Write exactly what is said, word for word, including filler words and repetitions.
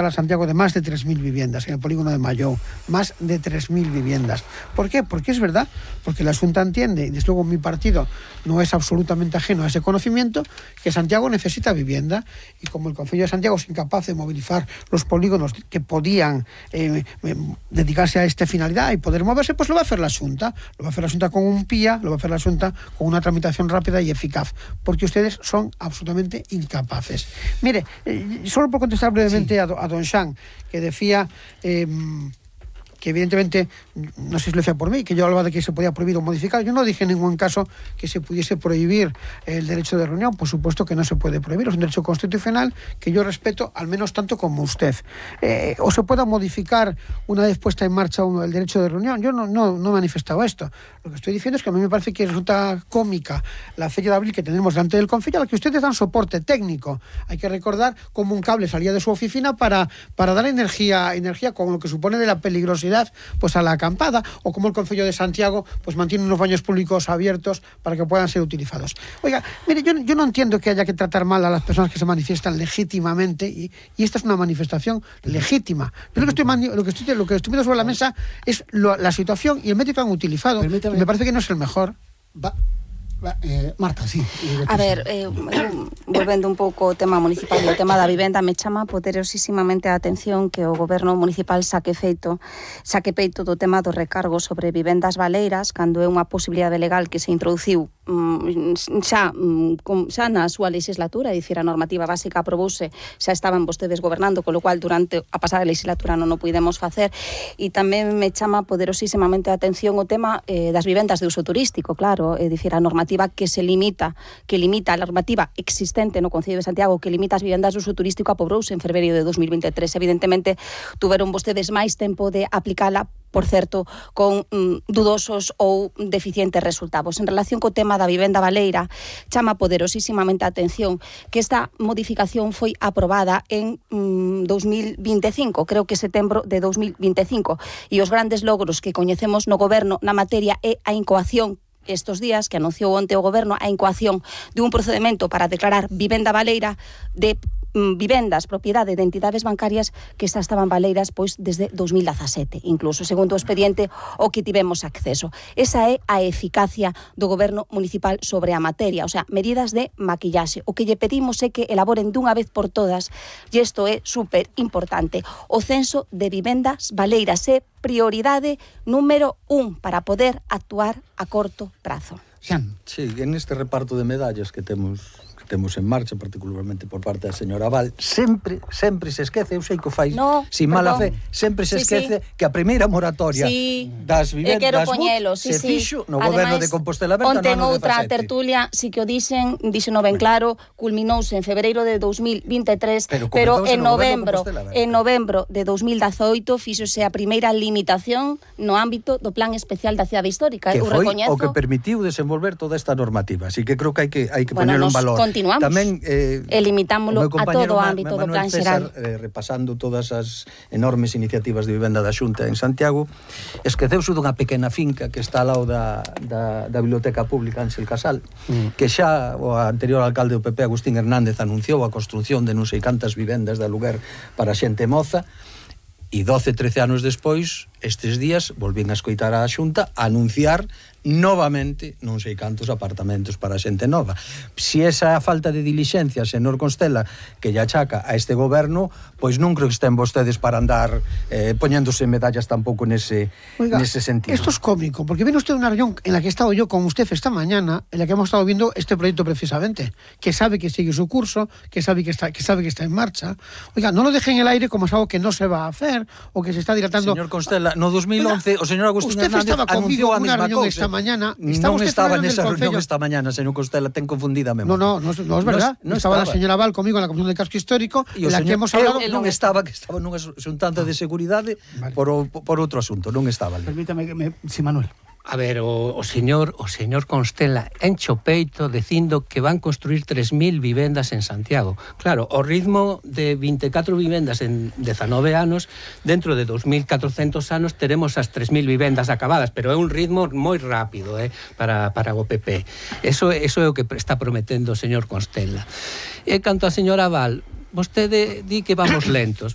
a Santiago de más de tres mil viviendas en el polígono de Mayou, más de tres mil viviendas. ¿Por qué? Porque es verdad, porque la Xunta entiende, y desde luego mi partido no es absolutamente ajeno a ese conocimiento, que Santiago necesita vivienda, y como el Concello de Santiago es incapaz de movilizar los polígonos que podían eh, dedicarse a esta finalidad y poder moverse, pues lo va a hacer la Xunta. Lo va a hacer la Xunta con un P I A, lo va a hacer la Xunta con una tramitación rápida y eficaz, porque ustedes son absolutamente incapaces. Mire, eh, solo por contestar brevemente sí. a, a don Xan, que decía eh, que evidentemente, no sé si lo decía por mí, que yo hablaba de que se podía prohibir o modificar. Yo no dije en ningún caso que se pudiese prohibir el derecho de reunión. Por supuesto que no se puede prohibir, es un derecho constitucional que yo respeto al menos tanto como usted. Eh, o se pueda modificar una vez puesta en marcha uno el derecho de reunión. Yo no, no, no he manifestado esto. Lo que estoy diciendo es que a mí me parece que resulta cómica la fecha de abril que tenemos delante del Concello, a la que ustedes dan soporte técnico. Hay que recordar cómo un cable salía de su oficina para, para dar energía, energía con lo que supone de la peligrosidad pues a la acampada, o como el Concello de Santiago pues mantiene unos baños públicos abiertos para que puedan ser utilizados. Oiga, mire, yo, yo no entiendo que haya que tratar mal a las personas que se manifiestan legítimamente, y, y esta es una manifestación legítima. Yo lo que estoy, lo que estoy, lo que estoy viendo sobre la mesa es lo, la situación y el método que han utilizado. Permítame. Me parece que no es el mejor. Va. Eh, Marta, sí. A ver, eh, volvendo un pouco ao tema municipal e o tema da vivenda, me chama poderosísimamente a atención que o goberno municipal saque feito, saque peito do tema do recargo sobre vivendas baleiras, cando é unha posibilidade legal que se introduciu mm, xa, mm, xa na súa legislatura, é dicir, a normativa básica aprobouse, xa estaban vostedes gobernando, con lo cual durante a pasada legislatura non o pudemos facer, e tamén me chama poderosísimamente a atención o tema eh, das vivendas de uso turístico, claro, é dicir, a normativa que se limita, que limita a normativa existente no Concello de Santiago, que limita as vivendas de uso turístico, aprobouse en fevereiro de dos mil veintitrés. Evidentemente, tuveron vostedes máis tempo de aplicala, por certo, con mm, dudosos ou deficientes resultados. En relación co tema da vivenda baleira, chama poderosísimamente a atención que esta modificación foi aprobada en mm, dos mil veinticinco, creo que setembro de dos mil veinticinco, e os grandes logros que coñecemos no goberno na materia é a incoación estos días que anunciou onte o goberno a incoación de un procedimento para declarar vivenda baleira de mm, vivendas propiedade de entidades bancarias que xa estaban baleiras pois desde dos mil dezasete, incluso segundo o expediente o que tivemos acceso. Esa é a eficacia do goberno municipal sobre a materia, o sea, medidas de maquillaxe. O que lle pedimos é que elaboren dunha vez por todas, e isto é super importante, o censo de vivendas baleiras é prioridade número un para poder actuar a corto prazo. Xan. Sí, en este reparto de medallas que temos que temos en marcha, particularmente por parte da señora Val, sempre, sempre se esquece, eu sei que o fai no, sin mala fe, sempre se sí, esquece sí. que a primeira moratoria sí. das vivendas poñelo, sí, sí, se sí. fixo no Ademais, goberno de Compostela Berta onte no ano outra dezasete. tertulia, si que o dixen, díxeno ben claro, culminouse en fevereiro de dos mil veintitrés, pero, pero en novembro, en novembro de dos mil dezaoito fíxose a primeira limitación no ámbito do Plan Especial da Cidade Histórica. Que eu foi recoñezo o que permitiu desenvolver toda esta normativa, así que creo que hai que hai que bueno, poner un valor. Continuamos. Tamén eh, e limitámolo a todo o ámbito do Plan Xeral. Eh, repasando todas as enormes iniciativas de vivenda da Xunta en Santiago, esqueceuse dunha pequena finca que está ao lado da, da, da Biblioteca Pública Ángel Casal, mm. que xa o anterior alcalde do P P, Agustín Hernández, anunciou a construción de non sei cantas vivendas de aluguer para xente moza, e doce, trece anos despois, estes días, volvín a escoitar a Xunta a anunciar novamente non sei cantos apartamentos para xente nova. Si esa falta de dilixencia, señor Constela, que lle achaca a este goberno, pois non creo que estén vostedes para andar eh, poñéndose medallas tampouco nese, Oiga, nese sentido. Esto es cómico, porque viene usted de una reunión en la que he estado yo con usted esta mañana, en la que hemos estado viendo este proyecto precisamente, que sabe que sigue su curso, que sabe que está, que sabe que está en marcha. Oiga, no lo deje en el aire como es algo que no se va a hacer, o que se está dilatando. Señor Constela, no dos mil once, Oiga, o señor Agustín Hernández anunciou a mesma cousa. Mañana, non estaba nesa reunión esta mañana, señor Constela, ten confundida a memoria. No, no, no, no es verdad. No, no estaba, estaba la señora Val conmigo en la Comisión del Casco Histórico, en la señor, que hemos hablado... Eu non estaba, que estaba nunha xuntanza de seguridade vale. por, o, por outro asunto, non estaba ali. Permítame que me... Sí, Manuel. A ver, o, o señor o señor Constela enche o peito dicindo que van construir tres mil vivendas en Santiago. Claro, o ritmo de vinte e catro vivendas en dezanove anos, dentro de dos mil catrocentos anos teremos as tres mil vivendas acabadas, pero é un ritmo moi rápido eh, para, para o P P. Eso, eso é o que está prometendo o señor Constela. E canto a señora Val, vostede di que vamos lentos.